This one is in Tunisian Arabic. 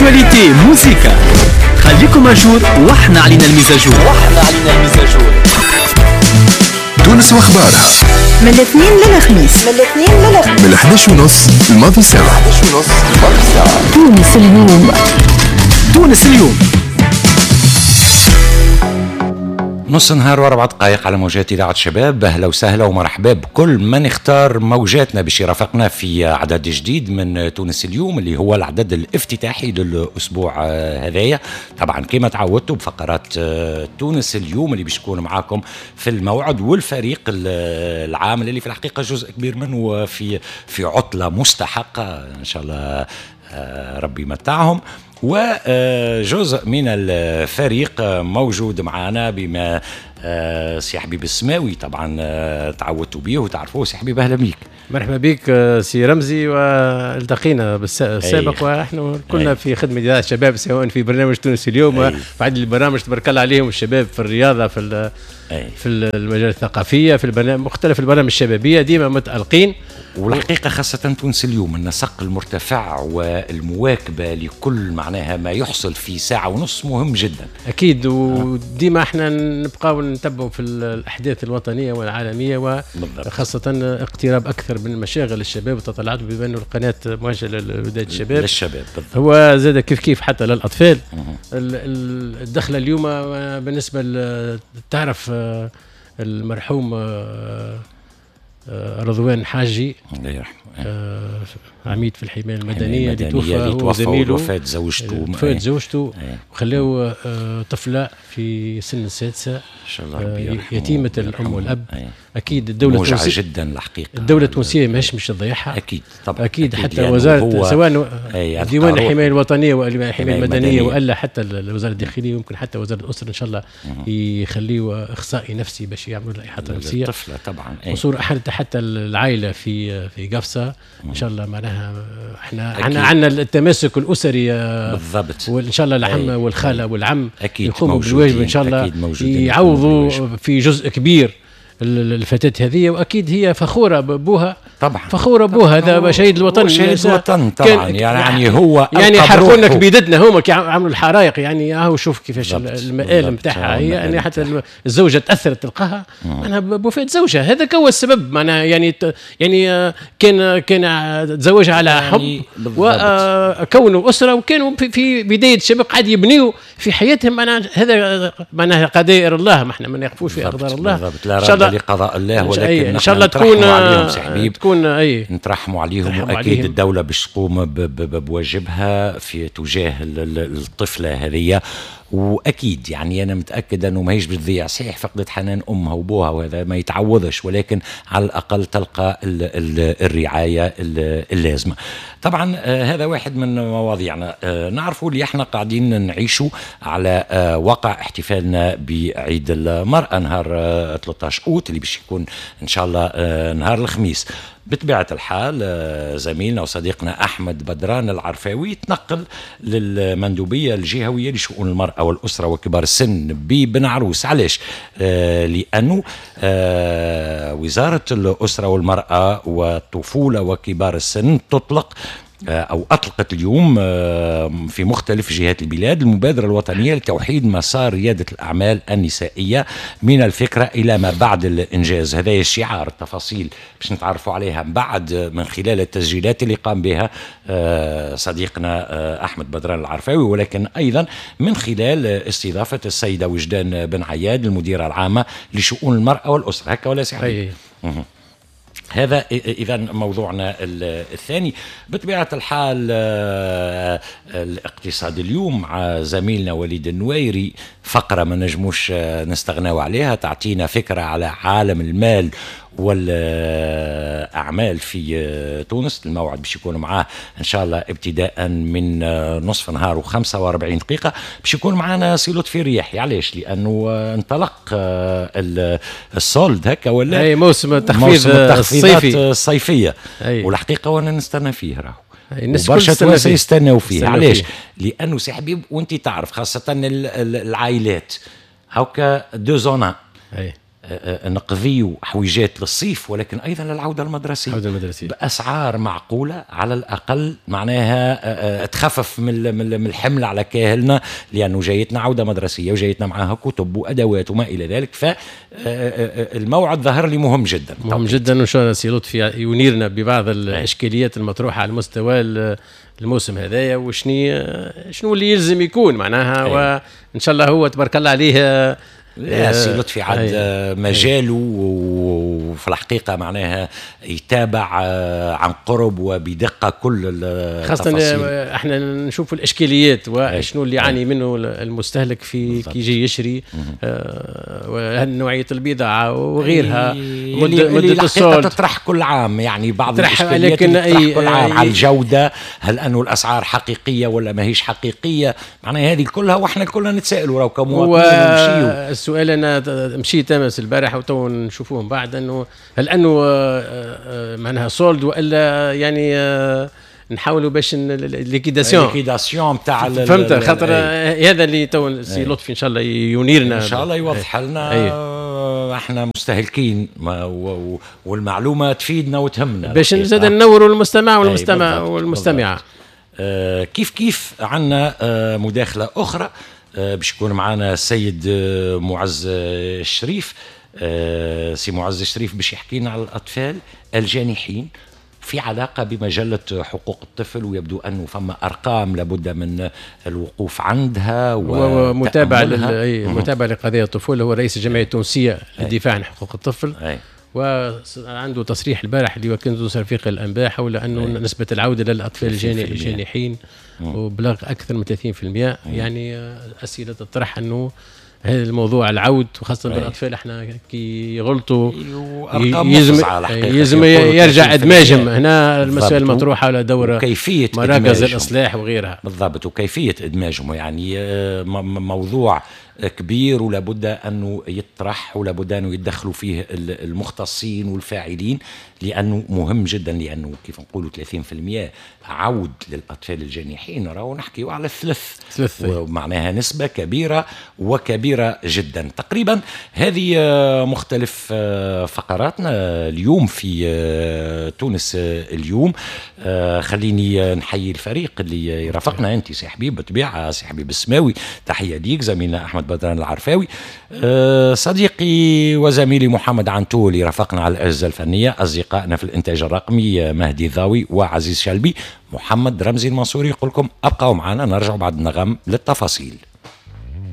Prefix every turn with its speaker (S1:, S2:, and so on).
S1: actualité، موزيكا، خليكم à jour واحنا علينا ال mise à jour. واحنا علينا ال mise à jour.
S2: تونس واخبارها
S3: من الاثنين للخميس، من الاثنين للخميس،
S2: من 11 ونص الماضي ساعة، 11 ونص الماضي ساعة.
S3: تونس اليوم،
S1: تونس اليوم.
S4: نص نهار واربع دقائق على موجات إذاعة شباب. أهلا وسهلا ومرحبا بكل من اختار موجاتنا باش يرافقنا في عدد جديد من تونس اليوم اللي هو العدد الافتتاحي للأسبوع هذايا. طبعا كما تعودتوا بفقرات تونس اليوم اللي باش تكون معاكم في الموعد، والفريق العامل اللي في الحقيقة جزء كبير منه في عطلة مستحقة إن شاء الله ربي يمتعهم، وجزء من الفريق موجود معنا بما سي حبيب السماوي طبعا تعودتوا به وتعرفوه. سي حبيب اهلا بك.
S5: مرحبا بك سي رمزي، والتقينا بالسابق ونحن كنا في خدمة اذاعة الشباب سواء في برنامج تونس اليوم وعدد البرامج تبارك الله عليهم الشباب في الرياضة في في المجال الثقافية في البرنامج مختلف البرامج الشبابية ديما متالقين.
S4: والحقيقة خاصة تونس اليوم النسق المرتفع والمواكبه لكل معناها ما يحصل في ساعة ونص مهم جدا.
S5: اكيد، وديما احنا نبقاو نتبعوا في الاحداث الوطنية والعالمية، وخاصة اقتراب اكثر من مشاغل الشباب وتطلعات، بما انه القناة موجهة لبداية الشباب
S4: للشباب بالضبط.
S5: هو زاد كيف كيف حتى للاطفال. الدخلة اليوم بالنسبة تعرف المرحوم رضوان حاجي
S4: الله يرحمه،
S5: عميد في الحماية المدنية اللي توفى هو وزميله،
S4: وفاة زوجته،
S5: وفاة زوجته، وخلاو طفله في سن السادسة
S4: ان شاء الله ربي يرحمه،
S5: يتيمة الام والاب. اكيد الدولة
S4: التونسية جدا الحقيقة،
S5: الدولة التونسية ماهيش مش تضيعها.
S4: اكيد طبعا،
S5: اكيد حتى وزارة سواء ديوان الحماية الوطنية والحماية المدنية والا حتى الوزارة الداخلية، ويمكن حتى وزارة الاسرة ان شاء الله يخليوا اخصائي نفسي باش يعملوا لها احاطة نفسية
S4: الطفلة طبعا.
S5: وصور حتى العائلة في قفصه ان شاء الله معناها احنا عندنا التماسك الاسري
S4: بالضبط،
S5: وان شاء الله العم والخاله والعم
S4: يقوموا
S5: بالواجب ان شاء الله، يعوضوا في جزء كبير الفتاة هذه. واكيد هي فخورة ببوها
S4: طبعا،
S5: فخورة بوها، هذا شهيد الوطن،
S4: شهيد الوطن طبعا. يعني هو
S5: يعني حرقوا لنا كبيدتنا هما كي عملوا الحرائق، يعني اهو شوف كيفاش المآل نتاعها هي، يعني حتى الزوجة تاثرت تلقاها معناها بوفاة زوجها، هذاك هو السبب معناها. يعني كان تزوجها على حب وكونوا اسره، وكانوا في بداية الشباب قاعد يبنيوا في حياتهم، معناها هذا معناها قدائر الله، ما احنا ما نقفوش في اقدار الله
S4: ان شاء الله لقضاء الله، ولكن
S5: ان شاء الله تكون
S4: عليهم سي حبيب،
S5: تكون
S4: نترحموا عليهم، واكيد الدولة باش تقوم بواجبها في تجاه الطفلة هذه. واكيد يعني انا متاكد انه ماهيش بتضيع، صحيح فقدت حنان امها وابوها وهذا ما يتعوضش، ولكن على الاقل تلقى الرعاية اللازمة. طبعا هذا واحد من مواضيعنا. نعرفوا اللي احنا قاعدين نعيشوا على واقع احتفالنا بعيد المراة نهار 13 اوت اللي باش يكون ان شاء الله نهار الخميس. بطبيعة الحال زميلنا وصديقنا أحمد بدران العرفاوي تنقل للمندوبية الجهوية لشؤون المرأة والأسرة وكبار السن ببن عروس. علاش؟ لأنه وزارة الأسرة والمرأة والطفولة وكبار السن تطلق أو أطلقت اليوم في مختلف جهات البلاد المبادرة الوطنية لتوحيد مسار ريادة الأعمال النسائية من الفكرة إلى ما بعد الإنجاز. هذا الشعار، التفاصيل باش نتعرفوا عليها بعد من خلال التسجيلات اللي قام بها صديقنا أحمد بدران العرفاوي، ولكن أيضا من خلال استضافة السيدة وجدان بن عياد المديرة العامة لشؤون المرأة والأسرة. هكا ولا سي حبيب؟ هذا إذا موضوعنا الثاني. بطبيعة الحال الاقتصاد اليوم مع زميلنا وليد النويري، فقرة ما نجموش نستغناو عليها، تعطينا فكرة على عالم المال والأعمال في تونس. الموعد باش يكون معاه إن شاء الله ابتداء من نصف نهار و45 دقيقة باش يكون معنا سي لطفي الرياحي. علاش؟ لأنه انطلق ال soldes هكا ولا؟
S5: أي موسم التخفيض الصيفي
S4: الصيفية. والحقيقة وأنا نستنى فيه راهو،
S5: الناس
S4: برشا توانسة يستناو فيه. علاش؟ لأنه سي حبيب وأنت تعرف خاصة العائلات هاكا deux en un، نقضيو حويجات للصيف، ولكن ايضا للعودة المدرسية،
S5: العودة المدرسية
S4: باسعار معقولة على الاقل، معناها تخفف من الحمل على كاهلنا، لانه جايتنا عوده مدرسيه وجايتنا معاها كتب وادوات وما الى ذلك. فالموعد ظهر لي مهم جدا،
S5: مهم جدا، وان شاء الله سي لطفي ينيرنا ببعض الاشكاليات المطروحة على مستوى الموسم هذايا، وشني شنو اللي يلزم يكون معناها. وان شاء الله هو تبارك الله عليه.
S4: لا، سي لطفي عاد مجاله، وفي الحقيقة معناها يتابع عن قرب وبدقة كل
S5: خاصة احنا نشوف الإشكاليات وشنو اللي يعاني منه المستهلك في كي يجي يشري، نوعية البضاعة وغيرها،
S4: مدة ال solde تطرح كل عام، يعني بعض الإشكاليات لكن تطرح كل عام على الجودة، هل أنه الأسعار حقيقية ولا ما هيش حقيقية، معناها هذه كلها واحنا كلنا نتسائلوا راهو كمواطنين.
S5: السؤال انا مشيت امس البارح وتو نشوفوهم بعد، انه هل انه معناها solde والا يعني نحاولوا باش
S4: liquidation liquidation نتاع،
S5: فهمت، خاطر هذا اللي تو سي لطفي ان شاء الله ينيرنا،
S4: ان شاء الله يوضح لنا. احنا مستهلكين والمعلومه تفيدنا وتهمنا
S5: باش نزيد ننوروا المستمع والمستمع والمستمعة.
S4: كيف عندنا مداخله اخرى، باش يكون معنا السيد معز الشريف، سي معز الشريف باش يحكي لنا على الاطفال الجانحين في علاقة بمجلة حقوق الطفل، ويبدو أنه فما أرقام لابد من الوقوف عندها
S5: ومتابعة متابعة لقضية الطفولة. هو رئيس الجمعية التونسية للدفاع عن حقوق الطفل. وعنده تصريح البارح اللي وكالة تونس افريقيا الانباء حول انه نسبه العودة للاطفال الجانحين وبلغ اكثر من 30%. يعني اسئلة تطرح انه هذا الموضوع العود، وخاصة بالاطفال احنا كي يغلطوا يلزم يرجع ادماجهم. هنا المسائل المطروحة على دور
S4: كيفية
S5: مراكز الاصلاح وغيرها.
S4: بالضبط، وكيفية ادماجهم يعني موضوع كبير ولابد انه يطرح ولابد انه يتدخلوا فيه المختصين والفاعلين، لانه مهم جدا، لانه كيف نقولوا 30% عود للاطفال الجانحين، راهو نحكيو على الثلث، ومعناها نسبه كبيرة وكبيره جدا. تقريبا هذه مختلف فقراتنا اليوم في تونس اليوم. خليني نحيي الفريق اللي يرافقنا، انت سي حبيب بالطبيعة، سي حبيب السماوي، تحية ليك، زميلنا احمد بدران العرفاوي، صديقي وزميلي محمد عنتول رافقنا على الاجهزة الفنية، اصدقائنا في الانتاج الرقمي مهدي ضاوي وعزيز شلبي، محمد رمزي المنصوري يقول لكم ابقوا معنا، نرجع بعد النغم للتفاصيل.